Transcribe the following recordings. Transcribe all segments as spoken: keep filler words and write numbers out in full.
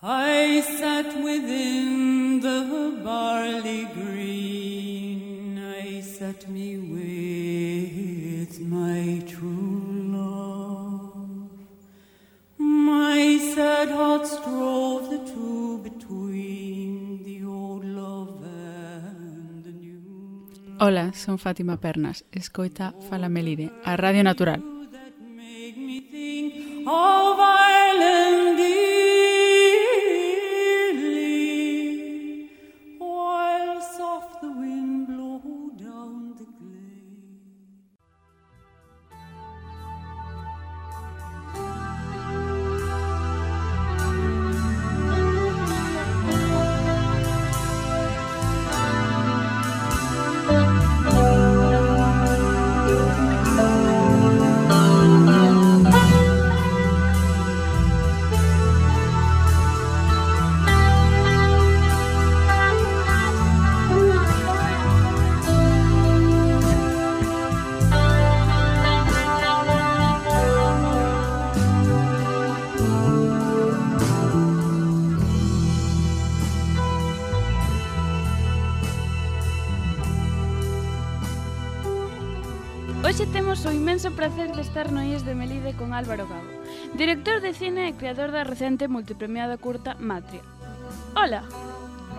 I sat within the barley green, I sat me with my true love. My sad hearts drove the two between the old love and the new. Ola, son Fátima Pernas, escoita Fala Melide, a Radio Natural. That make me think of Ireland dearly, while soft the wind blow down the glade. Hoxe temos o inmenso prazer de estar no I E S de Melide con Álvaro Gago, director de cine e creador da recente multipremiada curta Matria. Ola!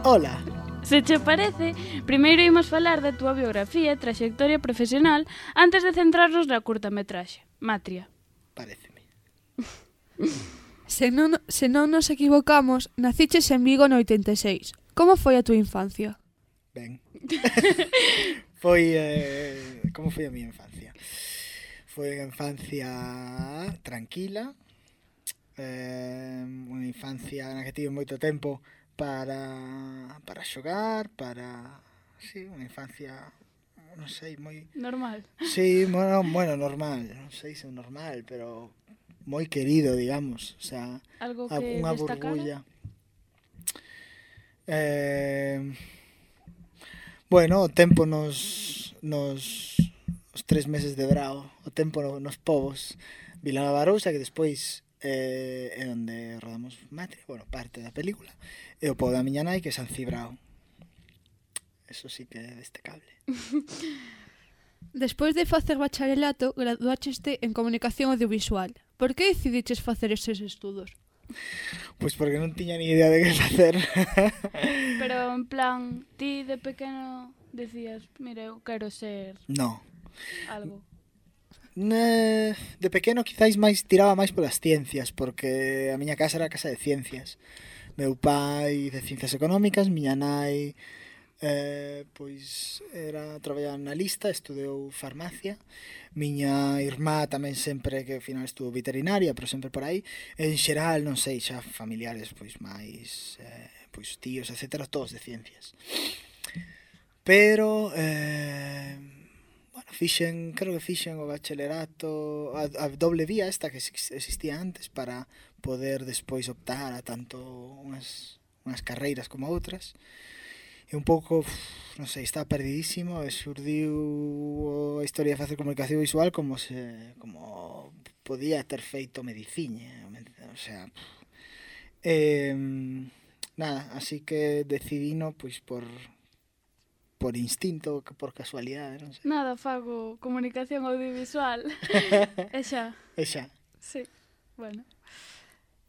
Ola! Se che parece, primeiro imos falar da túa biografía e traxectoria profesional antes de centrarnos na curtametraxe, Matria. Paréceme. Se non, se non nos equivocamos, naciches en Vigo no oitenta e seis. Como foi a túa infancia? Ben. Foi, eh, como foi a miña infancia? Foi unha infancia tranquila, eh, unha infancia na que tive moito tempo para, para xogar, para... Sí, unha infancia, non sei, moi... Normal. Sí, bueno, bueno, normal, non sei se é normal, pero moi querido, digamos, o sea, Algo a- que unha destacara? burbulla. Eh, bueno, o tempo nos, nos os tres meses de brao, o tempo no- nos povos Vila Barousa, que despois eh, é onde rodamos Matria, bueno, parte da película, e o pobo da miña nai, que é San Cibrao. Eso sí que é destacable. Despois de facer bacharelato, graduácheste en comunicación audiovisual. Por que decidiches facer eses estudos? Pois porque non tiña ni idea de que facer. Pero en plan, ti de pequeno decías, mira, eu quero ser No. algo. Ne, de pequeno quizáis máis tiraba máis polas ciencias, porque a miña casa era a casa de ciencias. Meu pai de ciencias económicas, miña nai eh, pois era traballaba na lista, estudou farmacia. Miña irmá tamén sempre que ao final estuvo veterinaria, pero sempre por aí. En xeral, non sei, xa familiares pois máis eh, pois tíos, etcétera, todos de ciencias. Pero eh, bueno, fixen, creo que fixen o bacharelato, a, a doble vía esta que ex- existía antes para poder despois optar a tanto unhas, unhas carreiras como outras. E un pouco, uf, non sei, estaba perdidísimo e xurdiu a historia de facer comunicación visual como se como podía ter feito medicina, o sea, eh, nada, así que decidino pois por por instinto, por casualidade, non sei. Nada, fago comunicación audiovisual. E xa, E xa. sí, bueno.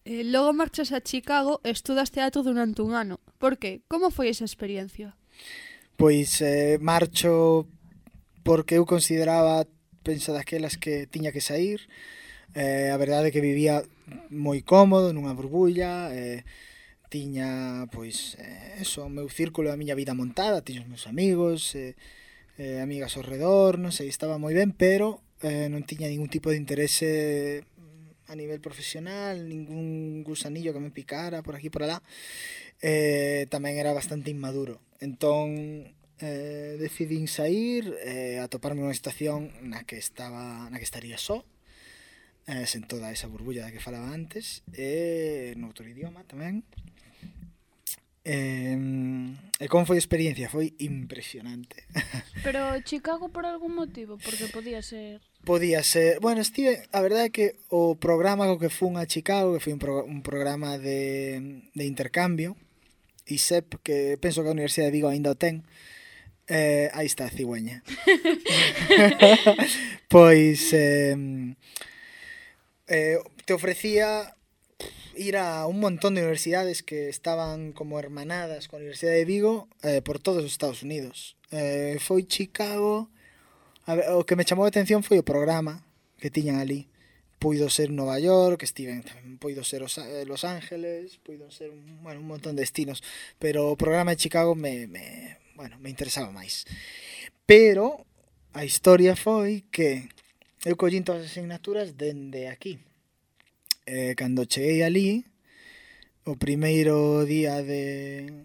Eh, logo marchas a Chicago e estudas teatro durante un ano. Por que? Como foi esa experiencia? Pois eh, marcho porque eu consideraba, penso daquelas que tiña que sair. Eh, a verdade é que vivía moi cómodo nunha burbulla, eh, tiña, pois, eh, eso, o meu círculo da miña vida montada, tiña os meus amigos, eh, eh, amigas ao redor, non sei, estaba moi ben, pero eh, non tiña ningún tipo de interese a nivel profesional, ningún gusanillo que me picara por aquí por alá. Eh, tamén era bastante inmaduro. Entón, eh, decidín sair, eh, a toparme nunha estación na que estaba, na que estaría só, eh, sen toda esa burbulla da que falaba antes, e noutro idioma tamén. Eh, e como foi a experiencia? Foi impresionante. Pero Chicago por algún motivo, porque podía ser... Podía ser... Bueno, estive... A verdade é que o programa co que fun a Chicago, que foi un, pro, un programa de, de intercambio, I S E P, que penso que a Universidade de Vigo ainda o ten, eh, aí está a cigüeña. Pois... Eh, eh, te ofrecía ir a un montón de universidades que estaban como hermanadas con a Universidade de Vigo eh, por todos os Estados Unidos. Eh, foi Chicago... A ver, o que me chamou a atención foi o programa que tiñan ali. Puido ser Nova York, estiven, puido ser os, eh, Los Ángeles, puido ser un, bueno, un montón de destinos, pero o programa de Chicago me, me, bueno, me interesaba máis. Pero a historia foi que eu collín todas as asignaturas dende aquí. Eh, cando cheguei ali, o primeiro día de,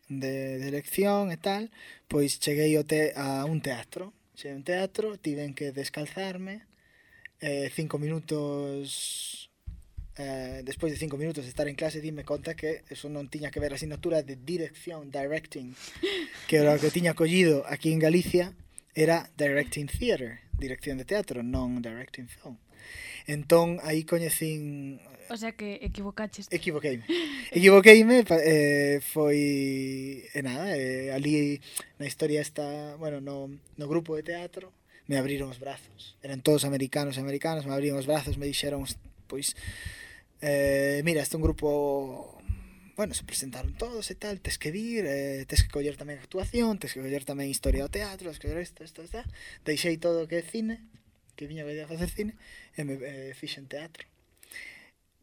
de, de lección e tal, pois cheguei te, a un teatro. Cheguei a un teatro, tiven que descalzarme, eh, cinco minutos, eh, despois de cinco minutos de estar en clase, dime conta que eso non tiña que ver a asignatura de dirección, directing, que era o que tiña collido aquí en Galicia, era directing theatre, dirección de teatro, non directing film. Entón, aí coñecín... O sea que equivocaches. Equivoqueime. Equivoqueime, eh, foi... E nada, eh, ali na historia está... Bueno, no, no grupo de teatro me abriron os brazos. Eran todos americanos e americanos, me abriron os brazos, me dixeron, pois... Eh, mira, este é un grupo... Bueno, se presentaron todos e tal, tes que vir, eh, tes que coller tamén actuación, tes que coller tamén historia do teatro, tes que coller isto, isto, isto. Deixei todo o que é cine, que viña a facer cine, e me eh, fixen teatro.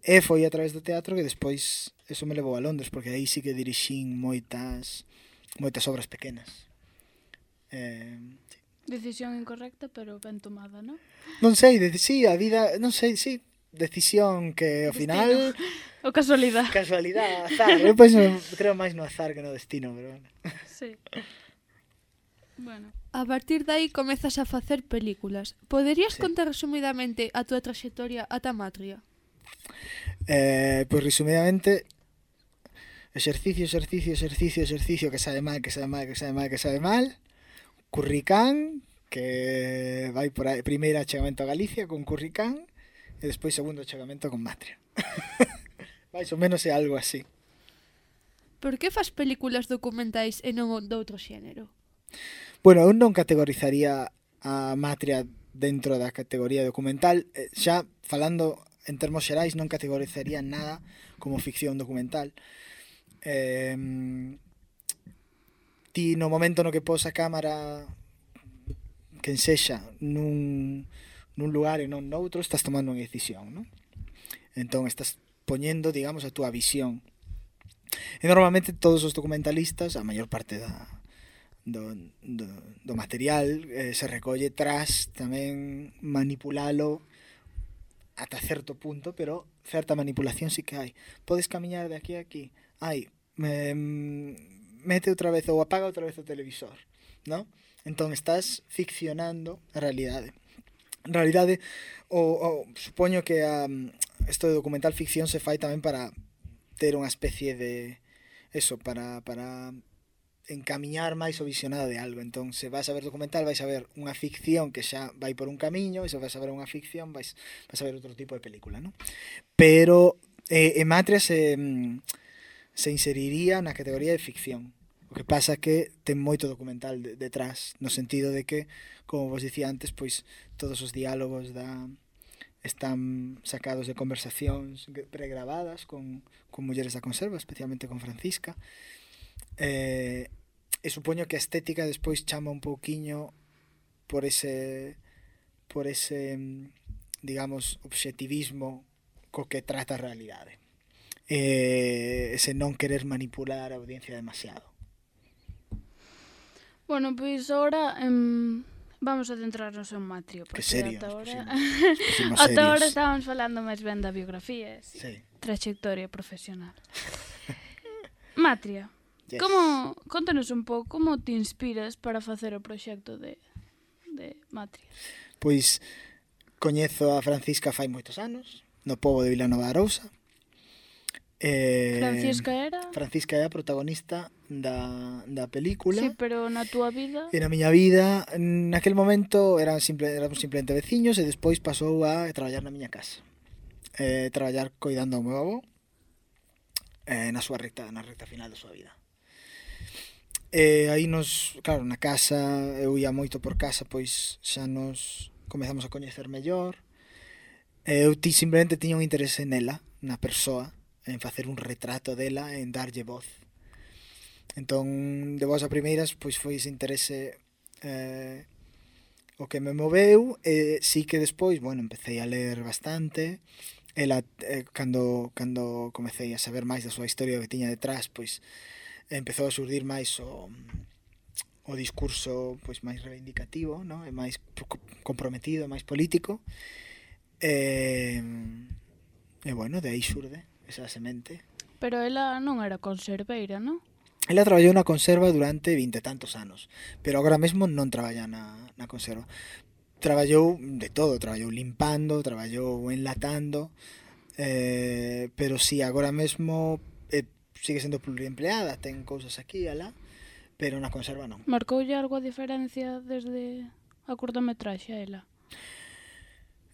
E foi a través do teatro que despois eso me levou a Londres, porque aí sí que dirixín moitas moitas obras pequenas. Eh, sí. Decisión incorrecta, pero ben tomada, non? Non sei, de, sí, a vida, non sei, sí, decisión que ao Destino. final... O casualidade. Casualidade, azar. Eu penso, creo máis no azar que no destino, pero bueno. Sí. Bueno. A partir de aí comezas a facer películas. Poderías Sí. contar resumidamente a túa traxectoria ata Matria? Eh, pois resumidamente, exercicio, exercicio, exercicio, exercicio, que sabe mal, que sabe mal, que sabe mal, que sabe mal. Curricán, que vai por aí, primeiro achegamento a Galicia con Curricán, e despois segundo achegamento con Matria. Mais ou menos é algo así. Por que fas películas documentais e non doutro xénero? Bueno, eu non categorizaría a Matria dentro da categoría documental. Eh, xa falando en termos xerais, non categorizaría nada como ficción documental. Eh, ti no momento no que pos a cámara quen sexa nun, nun lugar e non noutro, estás tomando unha decisión, non? Entón estás poñendo, digamos, a túa visión. E normalmente todos os documentalistas, a maior parte da Do, do, do material eh, se recolle tras tamén manipulalo ata certo punto, pero certa manipulación sí que hai. Podes camiñar de aquí a aquí, hai, me, mete outra vez ou apaga outra vez o televisor, ¿no? Entón estás ficcionando a realidade. En realidade, o, o, supoño que a, isto de documental ficción se fai tamén para ter unha especie de eso, para, para encamiñar máis o visionado de algo. Entón, se vas a ver documental, vais a ver unha ficción que xa vai por un camiño, e se vas a ver unha ficción, vais, vais a ver outro tipo de película, ¿no? Pero eh, en Matria se, se inseriría na categoría de ficción. O que pasa que ten moito documental de, detrás, no sentido de que, como vos dicía antes, pois todos os diálogos da están sacados de conversacións pregravadas con, con mulleres da conserva, especialmente con Francisca. Eh, e supoño que a estética despois chama un pouquiño por ese por ese digamos obxectivismo co que trata a realidade, eh, ese non querer manipular a audiencia demasiado. Bueno, pois agora em, vamos a centrarnos en Matria, Que porque serio, ata ahora ata ahora estábamos falando máis ben da biografía, sí. Sí. Trayectoria profesional. Matria. Yes. Como, contanos un pouco, como te inspiras para facer o proxecto de, de Matria? Pois coñezo a Francisca fai moitos anos, no pobo de Vilanova de Arousa, Eh, Francisca era? Francisca é a protagonista da, da película. Sí, pero na túa vida... E na miña vida, naquel momento, eran simple, éramos simplemente veciños e despois pasou a traballar na miña casa. Eh, traballar coidando ao meu avó eh, na súa recta, na recta final da súa vida. E aí nos, claro, na casa, eu ia moito por casa, pois xa nos comezamos a coñecer mellor. E eu ti, simplemente tiña un interese nela, na persoa, en facer un retrato dela, en darlle voz. Entón, de vos a primeiras, pois foi ese interese eh, o que me moveu, e sí que despois, bueno, empecé a ler bastante. Ela, eh, cando, cando comecei a saber máis da súa historia que tiña detrás, pois empezou a surdir máis o, o discurso pois máis reivindicativo, ¿no? E máis comprometido, máis político. E, e bueno, de aí xurde esa semente. Pero ela non era conserveira, non? Ela traballou na conserva durante vinte e tantos anos, pero agora mesmo non traballa na, na conserva. Traballou de todo, traballou limpando, traballou enlatando, eh, pero si sí, agora mesmo eh, sigue sendo pluriempleada, ten cousas aquí e alá, pero na conserva non. Marcoulle algo a diferencia desde a curtametraxe a ela?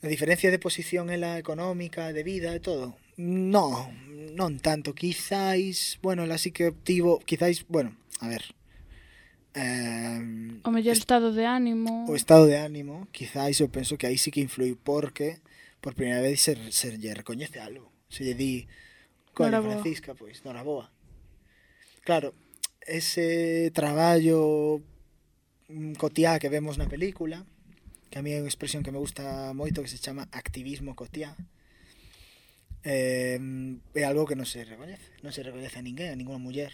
A diferencia de posición ela económica, de vida e todo? No, non tanto, quizáis, bueno, ela sí que obtivo, quizáis, bueno, a ver, eh, O mellor estado de ánimo... o estado de ánimo, quizáis eu penso que aí sí que influi, porque por primeira vez se, se lle recoñece algo, se lle di, coño, Noraboa. Francisca, pois, noraboa. Claro, ese traballo mm, cotiá que vemos na película, que a mí é unha expresión que me gusta moito, que se chama activismo cotiá, eh, é algo que non se recoñece, non se recoñece a ninguén, a ninguna muller.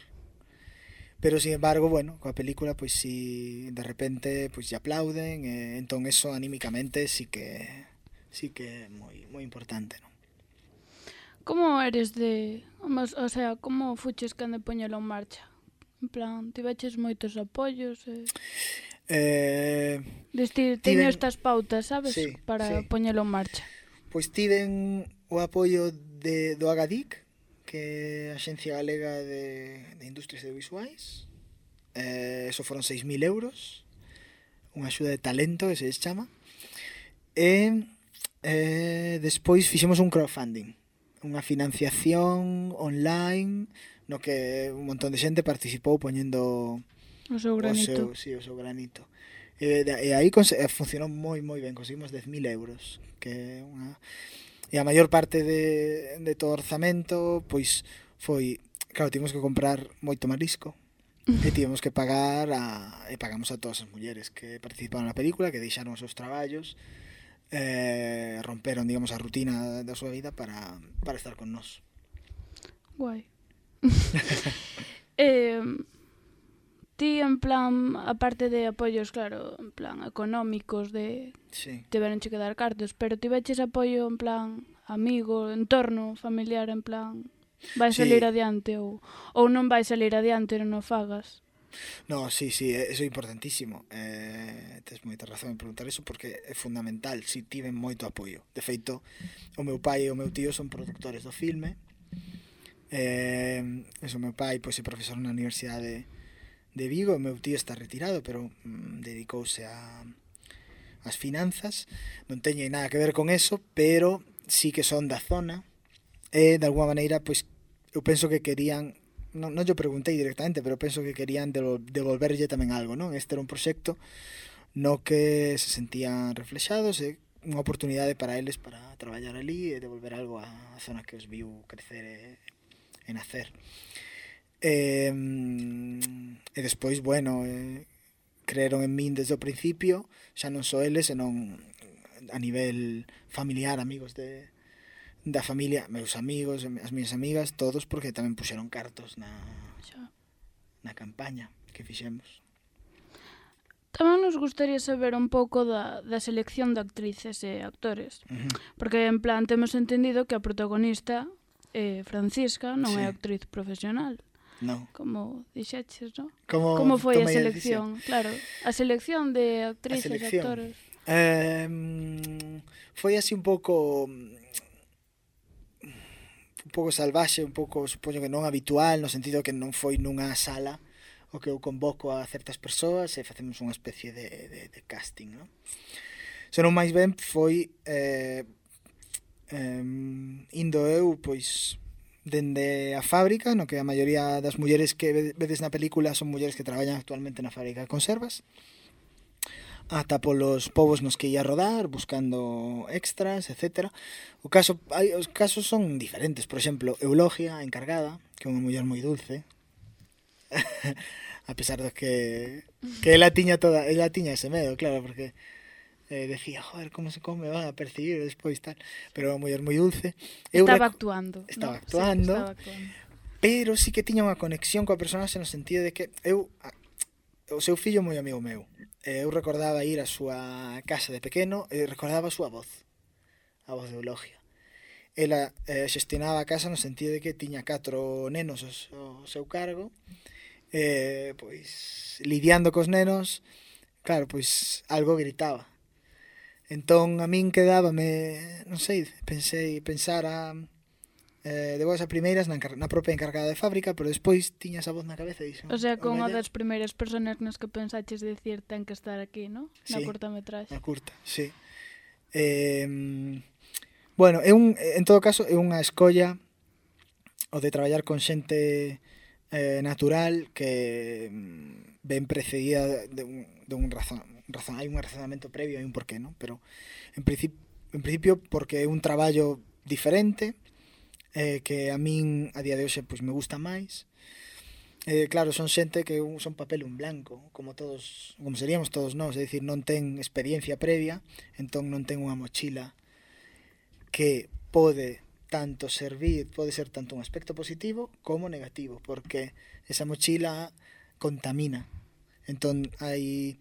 Pero, sin embargo, bueno, coa película, pois si de repente pois lle aplauden, e entón eso anímicamente sí que sí que é moi moi importante, non? Como eres de... O sea, como fuches quen de poñelo en marcha? En plan, tiveches moitos apoios e... Eh, Destir, teño tiven- estas pautas, sabes? Sí, Para sí. poñelo en marcha. Pois tiven o apoio de, do Agadic, que é a Axencia Galega de, de Industrias Audiovisuais. Eh, eso foron seis mil euros, unha axuda de talento, que se les chama. E eh, despois fixemos un crowdfunding, unha financiación online, no que un montón de xente participou poñendo O seu o seu, granito. sí, o seu granito. E, e aí cons- e funcionou moi moi ben, conseguimos dez mil euros, que é unha... E a maior parte de, de todo o orzamento, pois foi, claro, tivemos que comprar moito marisco, e tivemos que pagar a, e pagamos a todas as mulleres que participaron na película, que deixaron os seus traballos, eh, romperon, digamos, a rutina da súa vida para, para estar con nós. Guai. eh, ti, en plan, aparte de apoios, claro, en plan, económicos, de Sí. tiveronche que dar cartos, pero tiveches apoio, en plan, amigo, entorno, familiar, en plan, vai Sí. salir adiante ou, ou non vai salir adiante, non o fagas. No, sí, sí, eso é importantísimo. Eh, tes moita razón en preguntar eso, porque é fundamental. Si tiven moito apoio. De feito, o meu pai e o meu tío son productores do filme. Eh, eso, o meu pai pois, é profesor na Universidade de Vigo, o meu tío está retirado, pero mm, dedicouse a as finanzas. Non teño nada que ver con eso, pero sí que son da zona. E, de alguma maneira, pois, eu penso que querían... Non, non yo preguntei directamente, pero penso que querían devol- devolverlle tamén algo, non? Este era un proxecto no que se sentían reflexados e unha oportunidade para eles para traballar ali e devolver algo á zona que os viu crecer e, e nacer. E, e despois, bueno, eh, creeron en min desde o principio, xa non só eles, senón a nivel familiar, amigos de da familia, meus amigos, as miñas amigas, todos, porque tamén puxeron cartos na, Xa. na campaña que fixemos. Tamén nos gustaría saber un pouco da, da selección de actrices e actores. Uh-huh. Porque, en plan, temos entendido que a protagonista, eh, Francisca, non Sí. é actriz profesional. No. Como dixeches, non? Como, Como foi a tomei decisión? selección? Claro, a selección de actrices e selección. actores. Eh, foi así un pouco un pouco salvaxe, un pouco, supoño que non habitual, no sentido que non foi nunha sala o que eu convoco a certas persoas e facemos unha especie de, de, de casting, non? Senón máis ben foi eh, eh, indo eu, pois, dende a fábrica, no que a maioría das mulleres que vedes na película son mulleres que traballan actualmente na fábrica de conservas, ata polos povos nos que ia rodar, buscando extras, etcétera. O caso, hai, os casos son diferentes. Por exemplo, Eulogia, a encargada, que é unha muller moi dulce, a pesar de que que ela tiña toda, ela tiña ese medo, claro, porque eh, decía, joder, como se come, van a percibir despois tal, pero é unha muller moi dulce. Eu Estaba rec... actuando. Estaba ¿no? actuando. Sí, estaba actuando. Pero sí que tiña unha conexión coa personaxe no sentido de que eu, o seu fillo moi amigo meu, eu recordaba ir á súa casa de pequeno e recordaba a súa voz, a voz de Eulogia. Ela eh, xestionaba a casa no sentido de que tiña catro nenos ao seu cargo, eh, pois lidiando cos nenos, claro, pois algo gritaba. Entón a min quedábame, non sei, pensei, pensar a eh, de boas a primeiras na, na propia encargada de fábrica, pero despois tiña esa voz na cabeza e dixo, O sea, con unha mellor... das primeiras personas nas que pensaches decir ten que estar aquí, ¿no? Na Sí, curtametraxe. na curta, sí. Eh, bueno, é un, en todo caso, é unha escolla o de traballar con xente eh, natural que mm, ben precedida de un, de un razón, razón, hai un razonamento previo, hai un porqué, ¿no? Pero en principio, en principio porque é un traballo diferente, eh, que a min a día de hoxe pois me gusta máis. Eh, claro, son xente que un, son papel un blanco, como todos, como seríamos todos nós, é dicir, non ten experiencia previa, entón non ten unha mochila que pode tanto servir, pode ser tanto un aspecto positivo como negativo, porque esa mochila contamina. Entón hai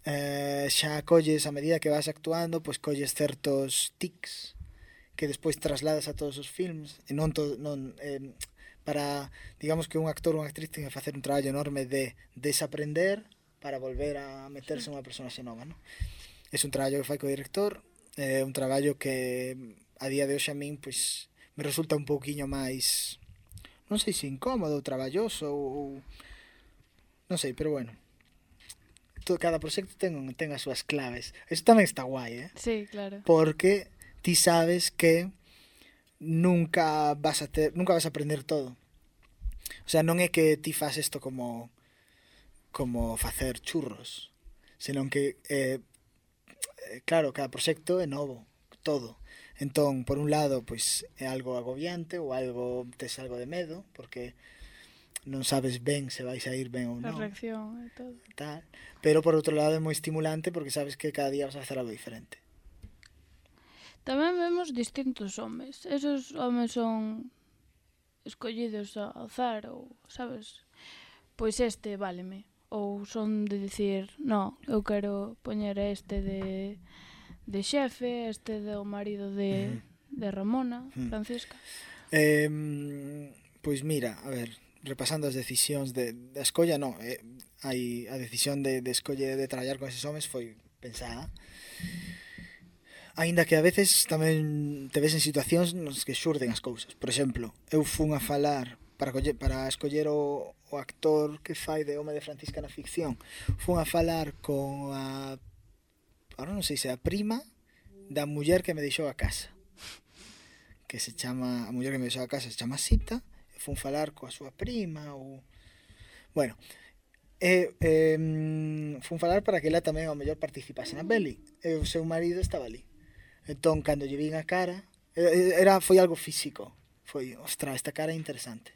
eh, xa colles a medida que vas actuando, pois colles certos tics que despois trasladas a todos os films e non, to, non eh, para, digamos que un actor ou unha actriz ten que facer un traballo enorme de desaprender para volver a meterse unha personaxe nova, non? É un traballo que fai co director, é un traballo que a día de hoxe a min pois me resulta un pouquiño máis, non sei se incómodo, traballoso ou non sei, pero bueno, todo, cada proxecto ten, ten as súas claves. Eso tamén está guai, eh? Sí, claro. Porque ti sabes que nunca vas a ter, nunca vas a aprender todo. O sea, non é que ti fas isto como como facer churros, senón que eh, claro, cada proxecto é novo, todo. Entón, por un lado, pois é algo agobiante ou algo tes algo de medo, porque non sabes ben se vais a ir ben ou non. A reacción e todo. Tal. Pero por outro lado é moi estimulante porque sabes que cada día vas a facer algo diferente. Tamén vemos distintos homes. Esos homes son escollidos ao azar ou, sabes, pois este váleme. Ou son de dicir, no, eu quero poñer a este de, de xefe, este do marido de, uh-huh. de Ramona, uh-huh. Francisca. Eh, pois mira, a ver, repasando as decisións de, da escolla, no, eh, hai a decisión de, de escolle de traballar con eses homes foi pensada. Aínda que a veces tamén te ves en situacións nos que xurden as cousas. Por exemplo, eu fun a falar para, coller, para escoller o, o actor que fai de home de Francisca na ficción. Fun a falar con a, ahora non sei se a prima da muller que me deixou a casa, que se chama, a muller que me deixou a casa se chama Sita. Fun falar coa súa prima ou... Bueno, e, eh, fun falar para que ela tamén ao mellor participase na peli. E o seu marido estaba ali. Entón, cando lle vin a cara, era, foi algo físico. Foi, ostra, esta cara é interesante.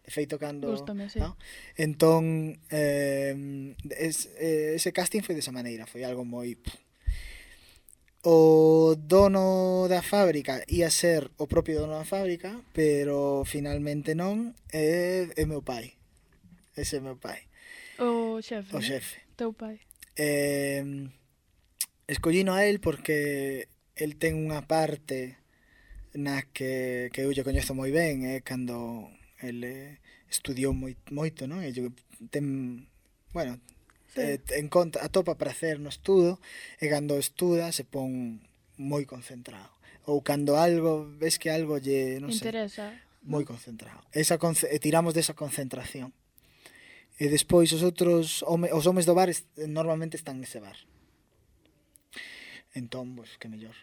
De feito, cando... Gústame, sí. ¿no? Entón, eh, es, eh, ese casting foi desa maneira. Foi algo moi... O dono da fábrica ia ser o propio dono da fábrica, pero finalmente non, é, é meu pai. Ese é meu pai. O xefe. O xefe. Teu pai. Eh, escollino a él porque el ten unha parte na que, que eu lle coñezo moi ben, é eh, cando el eh, estudiou moi, moito, non? E ten, bueno, sí. eh, en conta, atopa prazer no estudo, e cando estuda se pon moi concentrado. ou cando algo, ves que algo lle, non sei, Interesa. moi concentrado. Esa conce e tiramos desa concentración. E despois os outros, home, os homes do bar est, normalmente están nese bar. Entón, pois, que mellor.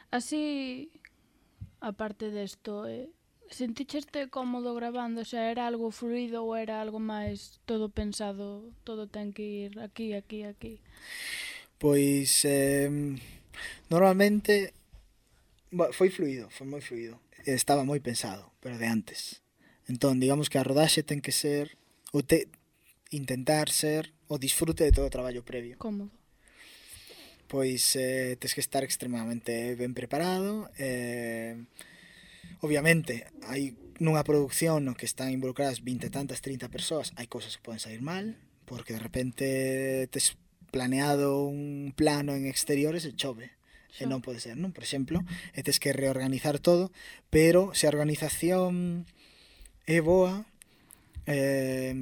Así, aparte desto, eh, senticheste cómodo grabando? O sea, era algo fluido ou era algo máis todo pensado, todo ten que ir aquí, aquí, aquí? Pois, eh, normalmente, bo, foi fluido, foi moi fluido. Estaba moi pensado, pero de antes. Entón, digamos que a rodaxe ten que ser, ou te, intentar ser, o disfrute de todo o traballo previo. Cómodo. Pois eh, tes que estar extremadamente ben preparado. Eh, obviamente, hai nunha produción no que están involucradas vinte e tantas, trinta persoas, hai cousas que poden sair mal, porque de repente tes planeado un plano en exteriores e chove. E non pode ser, non? Por exemplo, e tes que reorganizar todo, pero se a organización é boa, eh,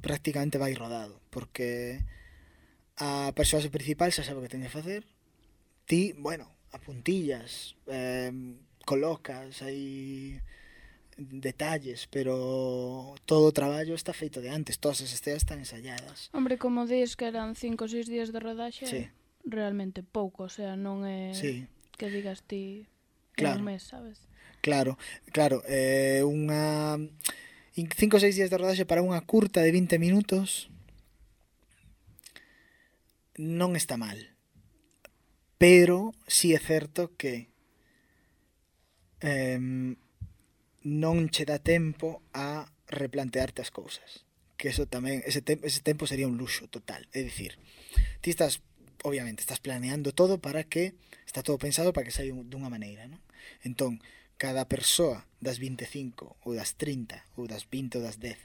prácticamente vai rodado, porque a persoa principal xa sabe o que ten que facer, ti, bueno, apuntillas, eh, colocas aí detalles, pero todo o traballo está feito de antes, todas as escenas están ensayadas. Hombre, como dis que eran cinco ou seis días de rodaxe, Sí. realmente pouco, o sea, non é Sí. que digas ti Claro. un mes, sabes? Claro, claro, eh, unha cinco ou seis días de rodaxe para unha curta de vinte minutos non está mal. Pero si é certo que eh, non che dá tempo a replantearte as cousas. Que eso tamén, ese, te, ese tempo sería un luxo total. É dicir, ti estás, obviamente, estás planeando todo para que, está todo pensado para que saia dunha maneira, non? Entón, cada persoa das vinte e cinco ou das trinta ou das vinte ou das dez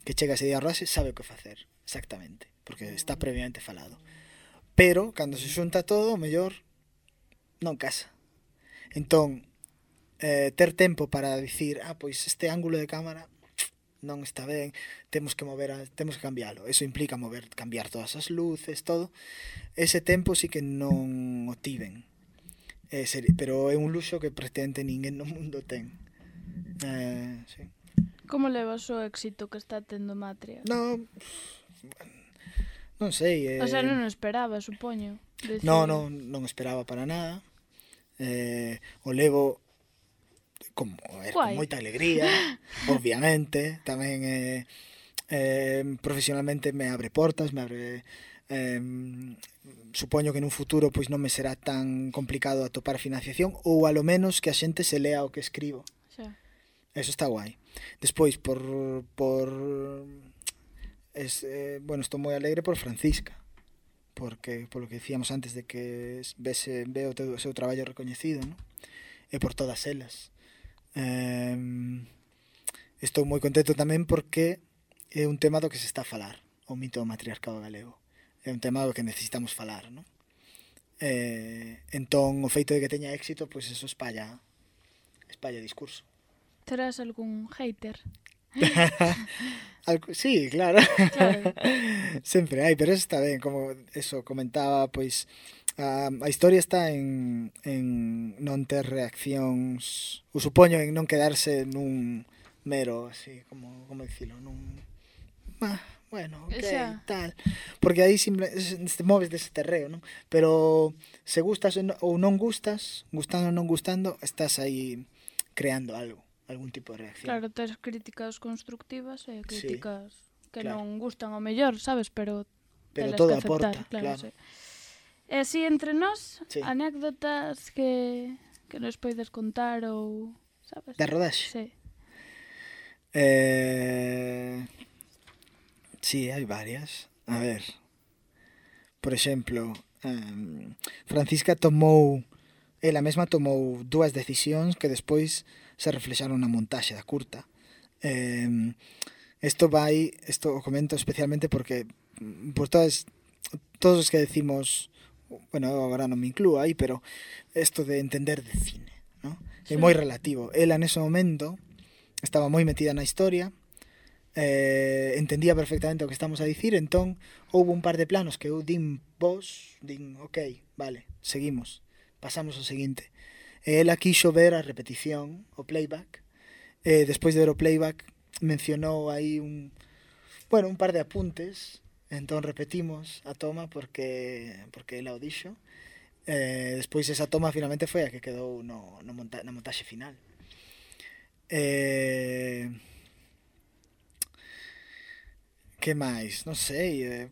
que chega ese día a rodaxe sabe o que facer, exactamente, porque está previamente falado. Pero, cando se xunta todo, o mellor non casa. Entón, eh, ter tempo para dicir, ah, pois este ángulo de cámara non está ben, temos que mover, a, temos que cambiálo. Eso implica mover, cambiar todas as luces, todo. Ese tempo sí que non o tiven. Eh, ser, pero é un luxo que prácticamente ninguén no mundo ten. Eh, sí. Como levas o éxito que está tendo Matria? No, non sei. Eh, O sea, non o esperaba, supoño. Decir... No, non, non esperaba para nada. Eh, o levo como, a ver, con moita alegría, obviamente. Tamén eh, eh, profesionalmente me abre portas, me abre... Eh, supoño que nun futuro pois non me será tan complicado atopar financiación, ou a lo menos que a xente se lea o que escribo. Xa. Eso está guai. Despois, por... por es, eh, bueno, estou moi alegre por Francisca, porque, polo que decíamos antes de que vese, ve o, teu, o seu traballo recoñecido, ¿no? E por todas elas. Eh, estou moi contento tamén porque é un tema do que se está a falar, o mito do matriarcado galego. É un tema do que necesitamos falar, ¿no? Eh, entón, o feito de que teña éxito, pois pues eso espalla, espalla discurso. Terás algún hater? Algo, sí, claro. Claro. Sempre hai, pero eso está ben, como eso comentaba, pois a, a historia está en, en non ter reaccións, o supoño en non quedarse nun mero, así, como, como dicilo, nun... Ah, bueno, ok, Xa. tal. Porque aí simple, te moves dese terreo, non? Pero se gustas ou non gustas, gustando ou non gustando, estás aí creando algo, algún tipo de reacción. Claro, tes críticas constructivas e críticas sí, que claro. non gustan ao mellor, sabes? Pero, pero telas todo que aceptar, aporta, claro. claro. Sí. E así entre nós, sí. anécdotas que, que nos poides contar ou, sabes? Da rodaxe? Sí. Eh... Sí, hai varias. A ver, por exemplo, um, Francisca tomou, ela mesma tomou dúas decisións que despois se reflexaron na montaxe da curta. Eh, isto vai, isto o comento especialmente porque por todas, todos os que decimos, bueno, agora non me inclúo aí, pero isto de entender de cine, ¿no? Sí. É moi relativo. Ela nese momento estaba moi metida na historia, eh, entendía perfectamente o que estamos a dicir, entón houve un par de planos que eu din vos, din, ok, vale, seguimos, pasamos o seguinte. E ela quixo ver a repetición, o playback, e despois de ver o playback mencionou aí un, bueno, un par de apuntes, entón repetimos a toma porque porque ela o dixo. Eh, despois esa toma finalmente foi a que quedou no, no monta na montaxe final. Eh, que máis? Non sei, eh,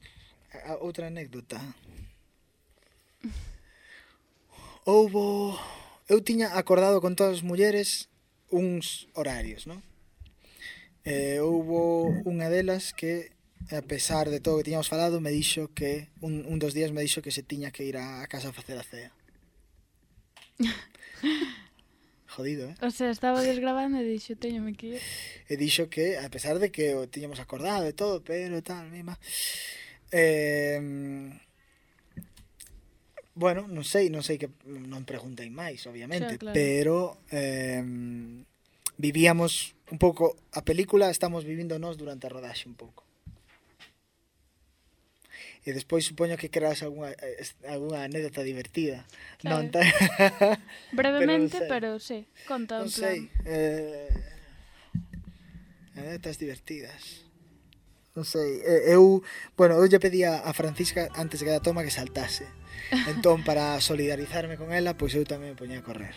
a, outra anécdota. Houbo... Eu tiña acordado con todas as mulleres uns horarios, non? Eh, houbo unha delas que, a pesar de todo o que tiñamos falado, me dixo que un, un dos días me dixo que se tiña que ir a, a casa a facer a cea. Jodido, eh? O sea, estaba desgravando e dixo, teñome que ir. E dixo que, a pesar de que o tiñamos acordado e todo, pero tal, mima... Eh, bueno, non sei, non sei que non preguntei máis, obviamente, Xa, claro. pero eh, vivíamos un pouco a película, estamos vivindo nós durante a rodaxe un pouco. E despois supoño que creas algunha, algunha anécdota divertida. Claro. Non ta... Brevemente, pero, non sei. pero sí, conta Non en plan. sei. Eh... Anécdotas divertidas. Non sei. Eh, eu, bueno, eu lle pedía a Francisca antes de cada toma que saltase. Entón, para solidarizarme con ela, pois eu tamén me poñía a correr.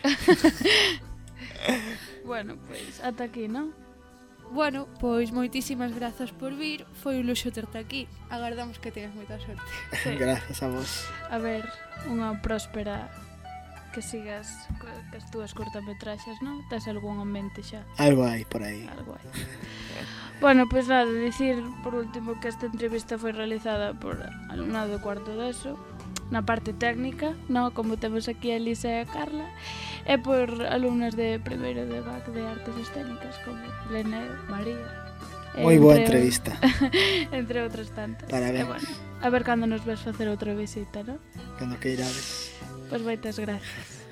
Bueno, pois, ata aquí, non? Bueno, pois moitísimas grazas por vir. Foi un luxo terte aquí. Agardamos que teñas moita sorte. Sí. Grazas a vos. A ver, unha próspera que sigas co- cas túas cortametraxes, non? Tes algún en mente xa? Algo hai por aí. Algo hai. Bueno, pois nada, dicir por último que esta entrevista foi realizada por alumnado do cuarto de eso, na parte técnica, non? Como temos aquí a Elisa e a Carla, e por alumnas de primeiro de B A C de Artes Escénicas como Leneo, María. Moi boa entre- entrevista. Entre outras tantas. Parabéns. E bueno, a ver cando nos ves facer outra visita, non? Cando que irades. Pois moitas gracias.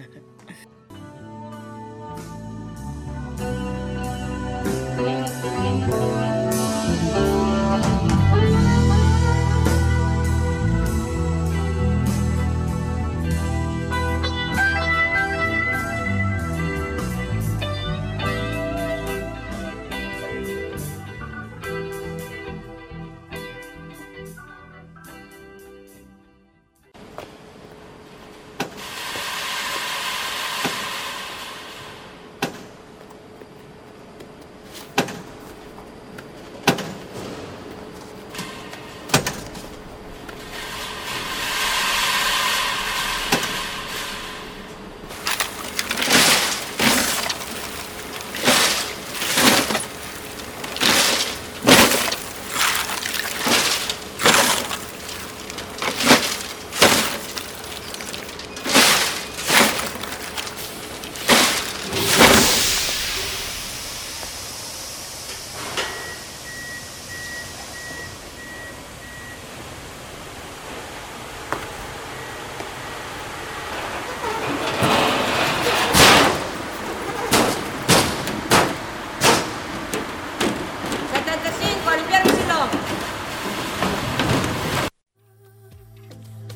setenta y cinco, a limpiar mi sillón.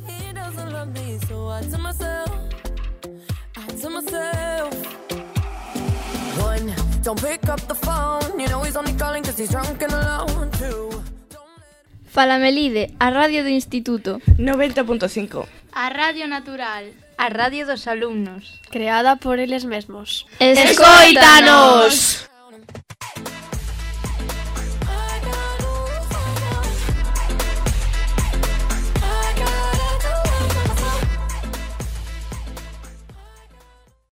He doesn't love me, so I tell myself, I tell myself. One, don't pick up the phone, you know he's only calling cause he's drunk and alone. Two, Falamelide, a radio do Instituto. noventa punto cinco. A Radio Natural. A radio dos alumnos. Creada por eles mesmos. Escoítanos!